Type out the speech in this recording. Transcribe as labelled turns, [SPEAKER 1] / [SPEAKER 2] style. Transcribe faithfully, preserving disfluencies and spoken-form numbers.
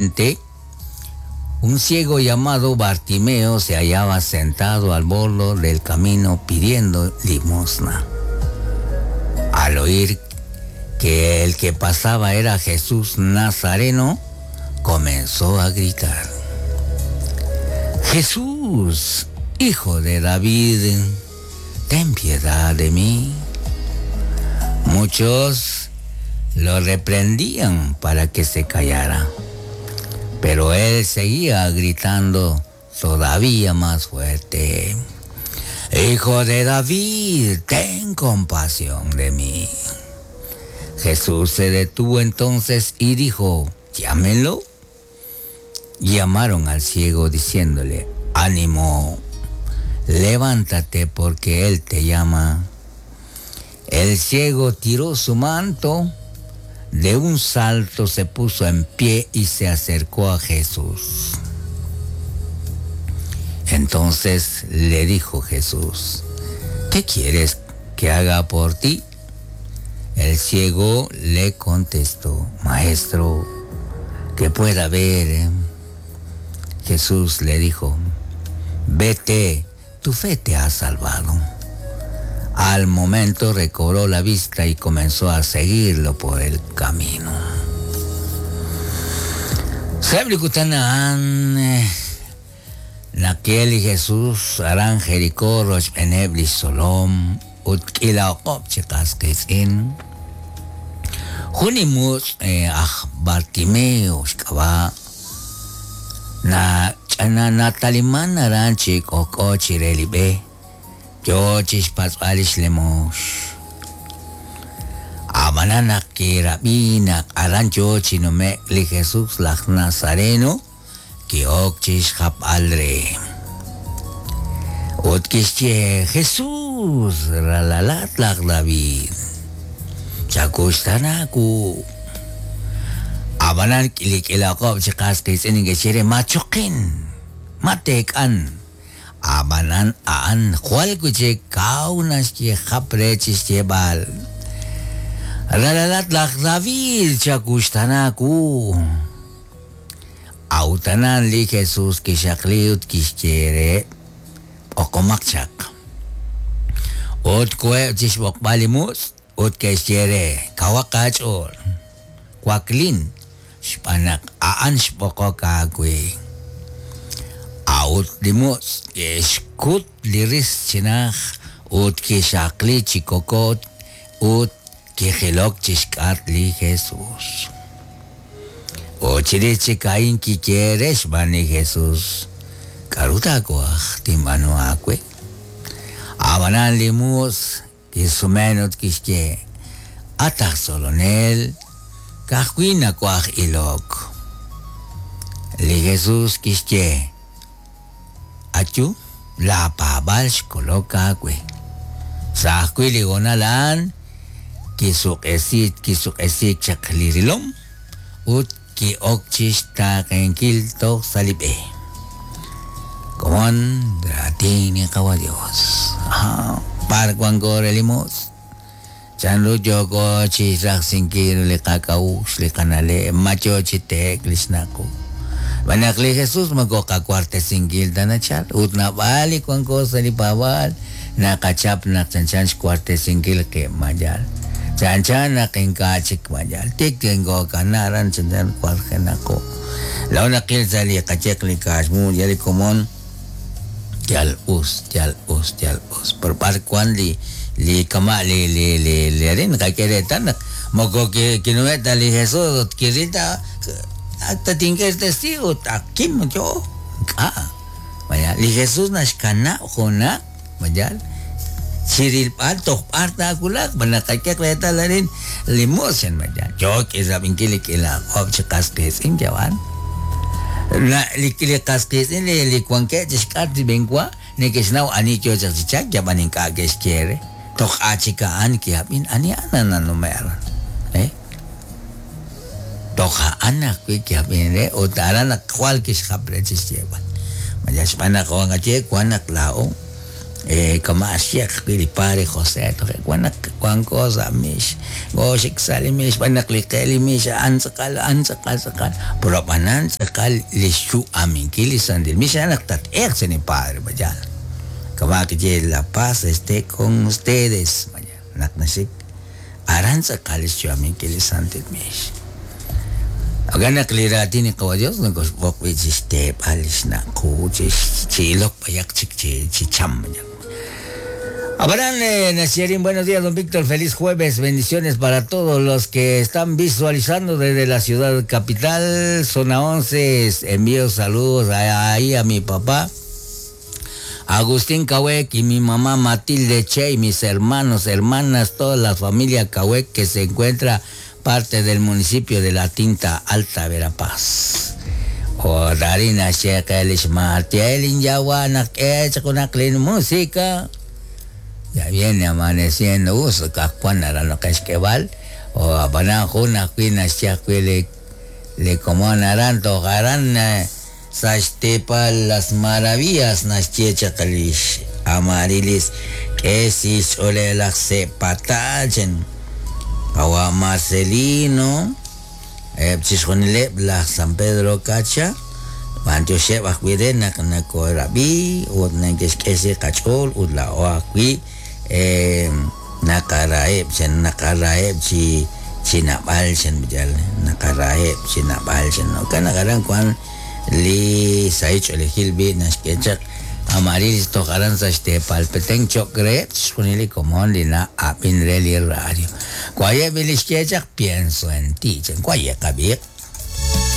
[SPEAKER 1] Un ciego llamado Bartimeo se hallaba sentado al borde del camino pidiendo limosna. Al oír que el que pasaba era Jesús Nazareno, comenzó a gritar: Jesús, hijo de David, ten piedad de mí. Muchos lo reprendían para que se callara, pero él seguía gritando todavía más fuerte: Hijo de David, ten compasión de mí. Jesús se detuvo entonces y dijo: Llámenlo. Llamaron al ciego diciéndole: Ánimo, levántate porque él te llama. El ciego tiró su manto, de un salto se puso en pie y se acercó a Jesús. Entonces le dijo Jesús: ¿Qué quieres que haga por ti? El ciego le contestó: Maestro, que pueda ver. Jesús le dijo: Vete, tu fe te ha salvado. Al momento recobró la vista y comenzó a seguirlo por el camino. Nakiel Jesús aran Jericó roch beneb solom utkila oqob chiqasqitz'in. Junimus aj Bartimeo xk'ab'a na ch'ana nataliman aran chik'ok'o chirelib'e yo chixpatz'alix lemox. Abanana kirabina aran yo chinome li Jesús laj Nazareno kiok chixjap'alre. Ut kixye Jesús ralalat laj David. Chakuxtanaku. Abanan kilik'ilaqob chiqasqitz'in inquexere machoqin mateek'an. Abanan aan jwal kuche kaunas kixjapre chixyeb'al. Ralalat laj David chakuxtanaku. Autanan li Jesús kixaqli ut kixyere oqomaq chaq. Ut kueb chixb'oqb'al li mus ut kexyere kawaqach'ool. Waklin xb'anaq a'an xb'oqok aawe. Aut li mus kexkut li ris chinaj ut kixaqli chikokot ut kijilok chixk'at li Jesús. Ochiri chikain kikyere xb'an li Jesús. K'aru taakuaj tinb'aanu aawe. Abanan li mus kisumen ut kixye: At aj tzolonel, ka'ajwi' nakuaj ilok. Li Jesús kixye: Ayu, la paab'al xkolok aawe. Sa' ajwi' li honal a'an kisuq'esik kisuq'esik chaq li rilom ut ki'ok chixtaaqenkil toj sa' li b'e. Komon raatin qawa Dios. Par wanko re li mus. Chanru yoko chixraqsinkil li qak'a'uxl li qana'leb' macho chiteek li xnaqu. B'anaq li Jesús moko qakuartesinkil ta nachal ut nab'al li wanko sa' li paab'al naqachap naq chanchan xkuartesinkil qib' mayal. Chanchan naq ink'a' chik mayal. Tik tinko kanaran chanchan kuarjenaqo. Law naqil sa' li qacheq li kaaxmu ya li komon yal us, yal us, yal us. Pero par kwan li li kama li li li li rin qakeretan moko kinueta li Jesús ut kirita hasta tinker testigo akim yo ka. Vaya, li Jesús naxkana jona vaya chirilpal tojpar takulak banaqakeq retalarin limoshan vaya. Yo kirab'inkil kila qob chiqasqitz'in yawan. La li li qasqitz'in li li wanke chixk'at b'enkwa nekexnaw ani yo chaq yaban ink'a' kexyere toj achika'an kiab'in ani anananume'ran eh toj a'an ajwi' kiab'in re ut aran naq jwal kixjap re chixyeb'al. Maya xb'aan naq wan qaye wan naq laa'o Eh, kama' xyeq wi li padre José toje' wan naq wanko sa' mix gooxik sa' li mix b'an naq li qe li mix a'an tz'aqal a'an tz'aqal tz'aqal pero ab'anan tz'aqal li xyu'aminkil li santil mix a'an naq tat'eeq sa' ni padre vaya kama' kiye la paz esté con ustedes vaya naq naxik aran tz'aqal li xyu'aminkil li santil mix. Jo'kan naq li raatin li Qawa' Dios nokoxb'oq wi' chixteeb'al li xna' qu chi ilok b'ayaq chik chi chi cham. Abraham Nasierín, buenos días, don Víctor. Feliz jueves. Bendiciones para todos los que están visualizando desde la ciudad capital, zona once. Envío saludos ahí a mi papá, Agustín Cahuec, y mi mamá Matilde Che, y mis hermanos, hermanas, toda la familia Cahuec que se encuentra parte del municipio de La Tinta Alta, Verapaz. O Darina Shekelish Martielin Yawana música. Ya viene amaneciendo uso kakwana lo que o abanan juna kuina le le como naran tojaran sashtepa las maravillas naschiecha kalish amarilis que si la se patachen awa Marcelino eh chishjonile la San Pedro Cacha bantioxeb ajwi' re naq nakoorab'i ut nakexk'e qach'ool ut la'o ajwi' eh, naqaraheb' chan naqaraheb' chi chi nab'al chan yal naqaraheb' chi nab'al chan jo'kan naq aran wan li sahil ch'oolejil b'i naxk'e chaq Amarilis toj aran sa' xteepalpeten choq reheb' chixjunil li komon li na'ab'in re li radio. Wayeb' li xk'e chaq pienso en ti chan waye qab'iq.